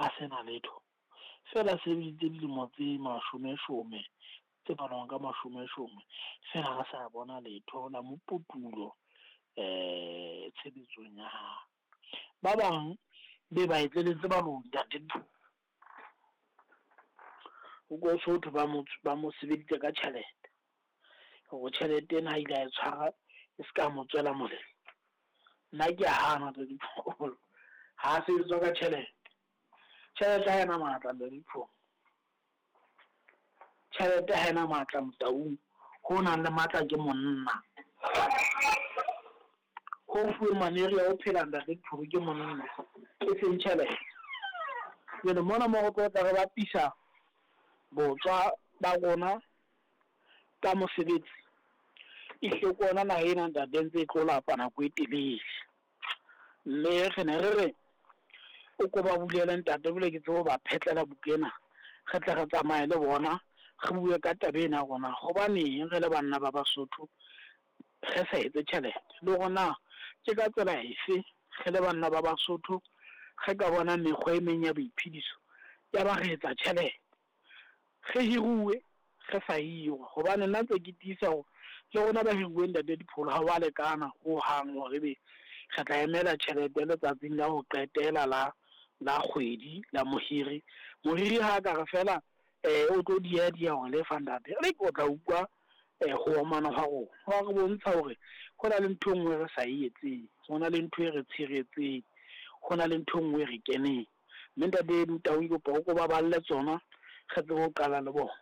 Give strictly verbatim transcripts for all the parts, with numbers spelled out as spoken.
a sena letho. Feela a sebeditse dilemo tse mashome shome tse balwang ka mashome shome, feela re sa bona letho la moputulo tshebetsong ya hae. Ba bang be ba etseletse baloi ntate. O ko so thwe ba mo ba mo sebeditse ka tjhelete, hore tjhelete ena ha ile a e tshwara e ska mo tswela molemo. Nna ke a hana ntate Dipholo, ha sebetswa ka tjhelete. Tjhelete ha ena matla ntate Dipholo. Tjhelete ha ena matla Motaung, ho nang le matla ke monna. Ho fuweng maneri a ho phela ntate Dipholo ke monna, e seng tjhelete. Jwale mona mo re tlo tla re bapisa botswa ba rona ka mosebetsi, ehlile ke ona naha ena ntate ntse e tlo lapa nako e telele. Mme re ne re re o ko ba bulele ntate, jwale ke tsebe ho ba phetlela buka ena, re tle re tsamaye le bona, re bue ka taba ena ya rona. Hobaneng re le banna ba Basotho re sa etse tjhelete, le hore na ke ka tsela efe re le banna ba Basotho re ka bona mekgwa e meng ya boiphediso ya ba re etsa tjhelete. Re hiruwe re sa hirwa, hobane nna ntse ke tiisa hore le rona ba hiruweng ntate Dipholo ha wa lekana hohang hore ebe re tla emela tjhelete letsatsing la ho qetela la la kgwedi la mohiri. Mohiri ha ka re fela o tlo dieha dieha ho lefa ntate, o tla utlwa ho omana hwa rona. Hwa re bontsha hore hona le ntho e nngwe re sa e etseng, hona le ntho e re tshiretseng, hona le ntho e nngwe e re keneng. Mme ntate Motaung ke kopa o ko ba balle tsona, re tsebe ho qala le bona.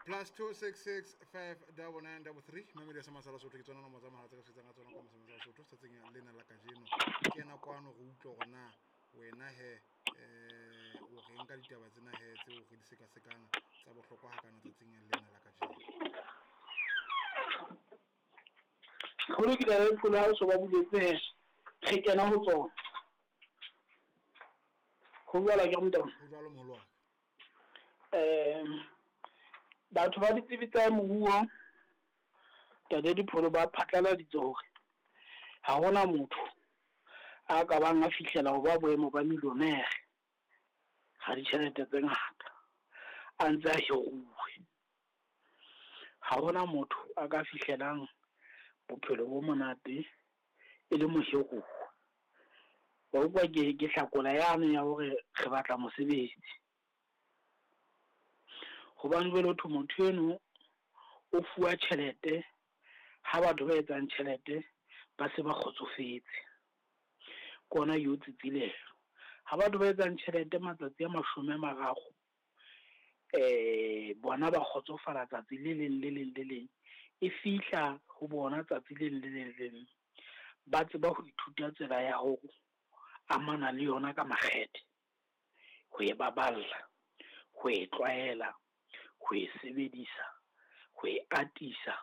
Plus two six six five double nine double three. Mamedi ya Semasa Lesotho ke tsona nomoro tsa mohala tse re sebetsang ka tsona kwa Semasa Lesotho tsatsing lena la kajeno. Kena kwano re utlwe hore na wena he eh o reng ka ditaba tsena he tseo re di sekasekang tsa bohlokwa hakana tsatsing lena la kajeno. Ho lokile re pholo ha o so ba buletse he, re kena ho tsona. Ho jwalo ke Motaung. Ho jwalo moholo wa ka. Um batho ba ditsebi tsa moruo ntate Dipholo ba phatlaladitse hore ha hona motho a ka bang a fihlela ho ba boemo ba millionaire ha ditjhelete tse ngata a ntse a hiruwe. Ha hona motho a ka fihlelang bophelo bo monate e le mohiruwa. Wa utlwa ke ke hlakola yane ya hore re batla mosebetsi. Hobane jwale ho thwe motho eno o fuwa tjhelete ha batho ba etsang tjhelete ba se ba kgotsofetse. Ke ona eo tsitsilelo. Ha batho ba etsang tjhelete matsatsi a mashome a mararo, eh bona ba kgotsofala tsatsi le leng le leng le leng, e fihla ho bona tsatsi le leng le le leng. Ba tseba ho ithuta tsela ya ho amana le yona ka makgethe, ho e baballa, ho e tlwaela, ho e sebedisa, ho e atisa,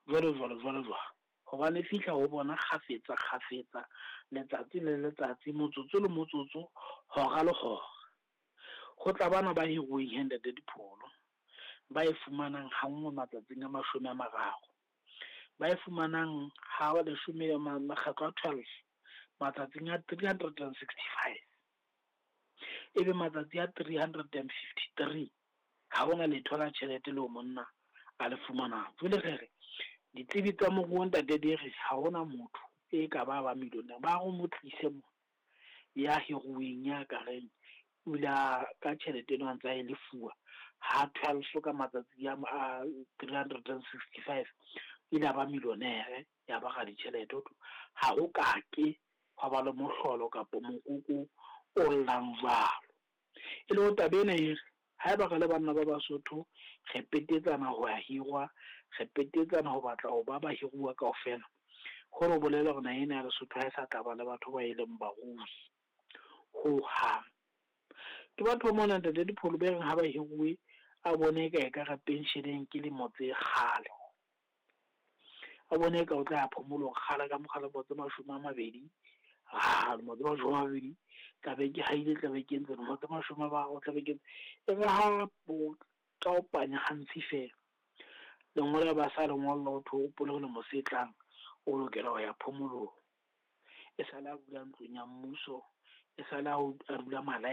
jwalo jwalo jwalo jwalo. Hobane e fihla ho bona kgafetsa kgafetsa, letsatsi le letsatsi, motsotso le motsotso, hora le hora. Ho tla bana ba hiruweng he ntate Dipholo, ba e fumanang ha nngwe matsatsing a mashome a mararo, ba e fumanang ha leshome makgetlo a twelve matsatsing a three hundred and sixty five. Ebe matsatsi a three hundred and fifty three ha hona letho la tjhelete leo monna a le fumanang. Jwale re re ditsebi tsa moruo ntate di re ha hona motho e ka ba ba millionaire, ba re mo tlise mo ya hiruweng ya ka reng o ile a ka tjhelete eno a ntse a e lefuwa ha twelve ka matsatsi a three hundred and sixty five ile a ba millionaire ya ba ra ditjhelete. Ho thwe ha ho kake hwa ba le mohlolo kapa mokoko o llang jwalo. E le hore taba ena e re haeba re le banna ba Basotho re petetsana ho ya hirwa, re petetsana ho batla ho ba bahiruwa kaofela, hore ho bolela hore naha ena ya Lesotho ha e sa tla ba le batho ba e leng barui hohang. Ke batho ba mona ntate Dipholo be reng ha ba hiruwe a bone eka ekare pensheneng ke lemo tse kgale, a bone eka o tla ya phomolong kgale ka mokgwa lemo tse mashome a mabedi, ah lemo tse mashome a mabedi tla be ke haile, tla be ke entse lemo tse mashome a mararo, tla be ke entse. E re ha bo taopanya hantsi fela, lengolo ba sa le ngolla ho thwe o hopole hore lemo se tlang o lokela ho ya phomolong. E sale a dula ntlong ya mmuso, e sale a dula malae.